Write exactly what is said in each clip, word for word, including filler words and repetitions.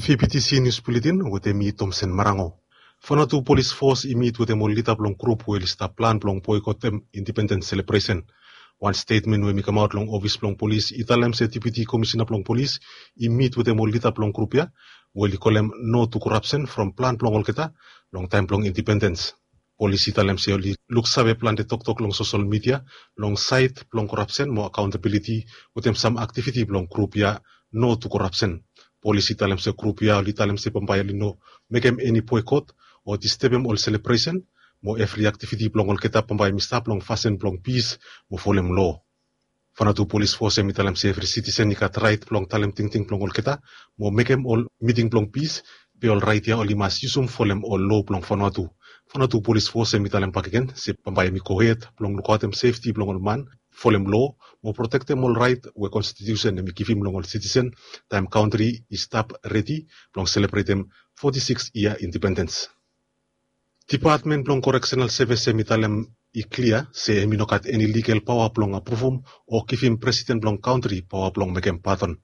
Fipiti si nius buletin wetem mi Tomsen Marango. Fanatu polis fos i mit wetem ol lida blong grup we oli stap plan blong boikotem indipendens selebresen. Wan stetmen we mi kamaot long ofis blong polis i talem se depiti komisina blong polis i mit wetem ol lida blong grup ya we oli kolem no tu korapsen from plan blong olgeta long taem blong indipendens. Polis i talem se oli luksave plante toktok long sosol midia long saed blong korapsen mo akaontabiliti wetem sam aktiviti blong grup ya no tu korapsen. Polis i talem se grup ya oli talem se bambae oli no mekem eni boekot o distebem ol selebresen mo evri aktiviti blong olgeta bambae mi stap long fasin blong pis mo folem loa. Fanatu polis fos hem i talem se evri sitisen i gat raet blong talem tingting blong olgeta mo mekem ol miting blong pis. Be ol raet ya oli mas yusum folem ol loa blong Fanatu. Fanatu polis fos hem i talem bakegen se bambae hem i gohed blong lukaotem sefti blong ol man, folem loa mo protektem ol raet we konstitiusen hem i givim long ol sitisen taem kantri i stap redi blong selebretem foti siks yia indipendens. Dipatmen blong koreksenal sevis hem i talem i klia se hem i no gat eni ligal paoa blong apruvum o givim presiden blong kantri paoa blong mekem padon.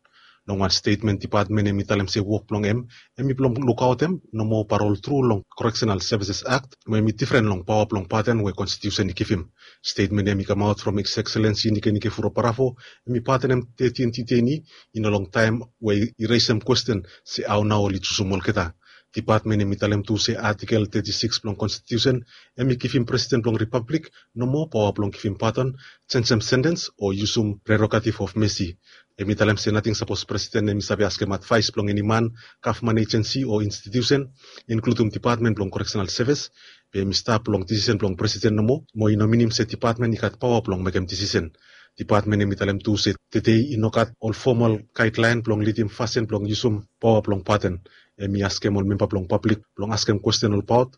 Long wan stetmen dipatmen hem i talem se wok blong hem hem i blong lukaotem nomo parol tru long Correctional Services Act we hem i difren long paoa blong padon we konstitiusen i givim. Stetmen hem i kamaot from His Excellency Nikenike Vurobaravu hem i padonem tetin diteini i no long taem we i resem kwesten se hao nao oli jusum olgeta. Dipatmen hem i talem tu se atikel teti siks blong konstitiusen hem i givim presiden blong ripablik nomo paoa blong givim padon, jenjem sentens o yusum prerogatif of mesi. Hem i talem se nating sapos presiden hem i save askem advaes blong eni man, gavman ejensi o institiusen, inkludum dipatmen blong koreksenal sevis, be hem i stap long disisen blong presiden nomo mo i no minim se dipatmen i gat paoa blong mekem disisen. Dipatmen hem i talem tu se tede i no gat ol fomal gaedlaen blong lidim fasin blong yusum paoa blong padon. Hem i askem ol memba blong pablik blong askem kwesten olbaot.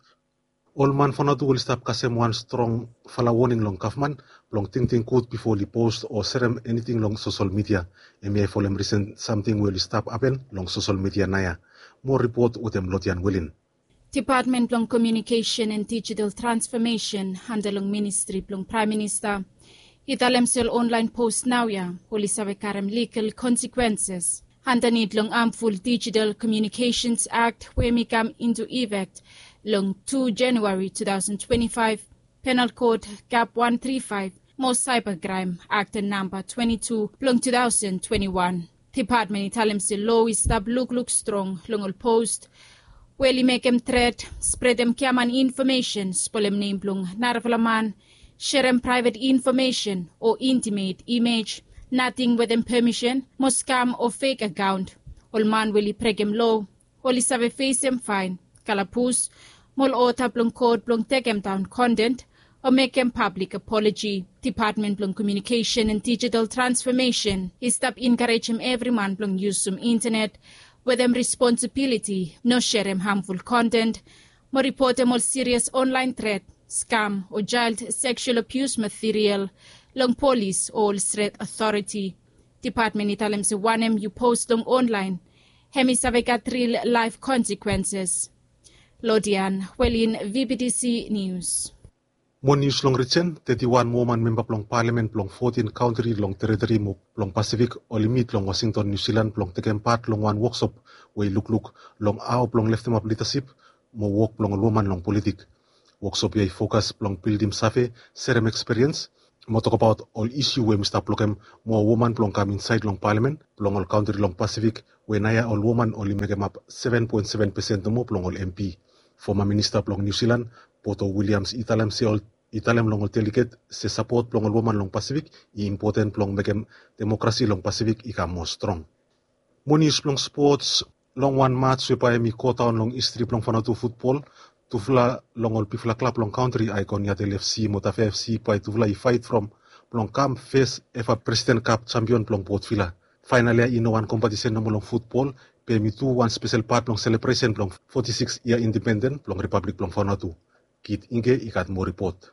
Ol man Fanatu oli stap kasem wan strongfala woning long gavman blong tingting gud bifo oli post o serem eniting long sosol midia. Hem ya i folem risen samting we oli stap hapen long sosol midia naoia. Moa ripot wetem Lodian Welin. Dipatmen blong Komiunikesen and Dijital Transfomesen anda long ministri blong Praem Minista i talem se ol onlaen post naoia oli save karem ligal konsekwenses andanit long hamful Dijital Komiunikesens Akt we hem i kam intu ifek long tu Januari tu taosen twenti faef, Penal Kod Kap wan tri faef mo Saeba Kraem Akt namba twenti tu blong tu taosen twenti wan. Dipatmen i talem se loa i stap lukluk strong long ol post we oli mekem tret, spredem giaman infomesen, spolem nem blong narafala man, serem praevet infomesen o intimet imej, nating wetem pemisen, mo skam o fek akaon. Ol man we oli brekem loa oli save fesem faen, kalabus, mo ol oda blong kot blong tekemdaon konten o mekem pablik apoloji. Dipatmen blong Komiunikesen and Dijital Transfomesen i stap enkarejem evri man blong yusum intanet wetem responsibiliti, no serem hamful konten, mo ripotem ol sirias onlaen tret, skam o jael seksual abius material long polis o ol stret otoriti. Dipatmen i talem se wanem yu post long onlaen hem i save gat ril laef konsekwenses. Lodian Welin, V B T C Nius. Moa nius long rijen, teti wan woman memba blong palamen blong fotin kantri long teriteri mo blong Pasifik oli mit long Wasington, Niu Silan blong tekem pat long wan woksop we i lukluk long hao blong leftemap lidasip mo wok blong ol woman long politik. Woksop ya i fokas blong bildim save, serem ekspiriens mo tokbaot ol isu we hem i stap blokem moa woman blong kam insaed long palamen blong ol kantri long Pasifik we naoia ol woman oli mekemap seven point seven percent nomo blong ol M P. Foma minista blong Niu Silan, Poto Williams, i talem se ol i talem long ol deliget se sapot blong ol woman long Pasifik i impoten blong mekem demokrasi long Pasifik i kam moa strong. Moa nius blong spots, long wan mats we bae hem i godaon long histri blong Vanuatu futbol, tufala long ol bigfala klab long kantri, Icon Yatel F C mo Tafe F C, bae tufala i faet from blong kam fes eva President Cup jampion blong Port Vila. Faenal ya i no wan kompetisen nomo long futbol, be hem i tu wan spesel pat blong selebresen blong foti siks yia indipenden blong Ripablik blong Vanuatu. Kit Ingke i gat moa ripot.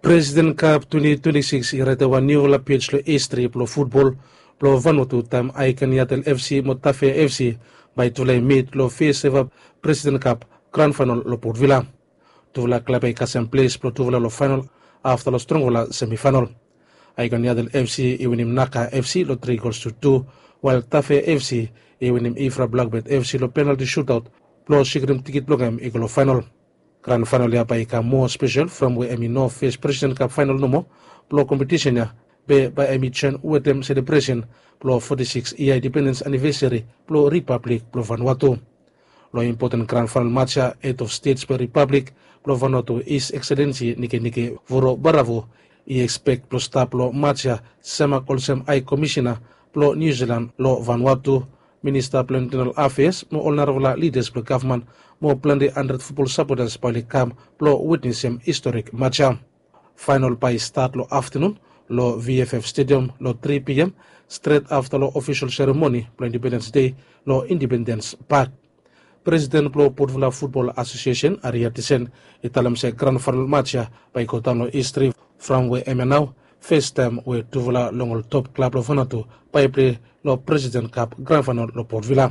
President Cup twenty twenty-six i raetem wan niufala pej long histri blong futbol blong Vanuatu taem Icon Yatel F C mo Tafe F C bae tufala i mit long fes eva President Cup gran faenal long Port Vila. Tufala klab ya i kasem ples blong tufala long faenal afta long strongfala semifaenal. Icon Yatel F C i winim Naka F C long tri gols tu tu. Wael Tafe FC i winim Ifra Blakbet FC long penalti sutaot blong sikrim tikit blong hem i go long faenol. Gran faenol ya bae i kam moa spesel from we hem i no fes President Cup faenol nomo blong kompetisen ya, be bae hem i joen wetem selebresen blong foti sikis yia indipendens anivesari blong Ripablik blong Vanuatu. Long impoten gran faenol mats ya, hed of stets blong Ripablik blong Vanuatu, His Excellency Nikenike Vurobaravu, i ekspek blong stap long mats ya semak olsem Hae Komisena blong Niu Silan long Vanuatu, Minista blong Intenal Afeas mo ol narafala lidas blong gavman mo plante handred futbol sapotas bae oli kam blong witnesem historik mats ya. Faenol bae i stat long aftenun long VFF Stadium long tri PM, stret afta long ofisol seremoni blong Indipendens Dei long Indipendens Pak. Presiden blong Portvilla Futbol Asosiesen, Ari Atisen, i talem se gran faenol mats ya bae i godaon long histri from we hemia nao fes taem we tufala long ol top klab long Vanuatu bae i plei long Presiden Kap gran faenol long Portvilla.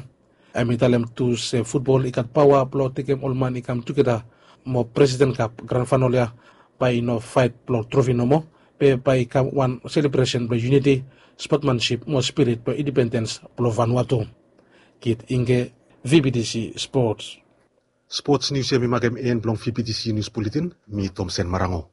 Hem i talem tu se futbol i gat paoa blong tekem ol man i kam tugeta mo Presiden Kap gran faenol ya bae i no faet blong trofi nomo, be bae i kam wan selebresen blong yuniti, spotmansip mo spirit blong indipendens blong Vanuatu. Kit Ingge, VBTC Sports. Sports nius ya mi makem en blong VBTC Nius Buletin. Mi Tomsen Marango.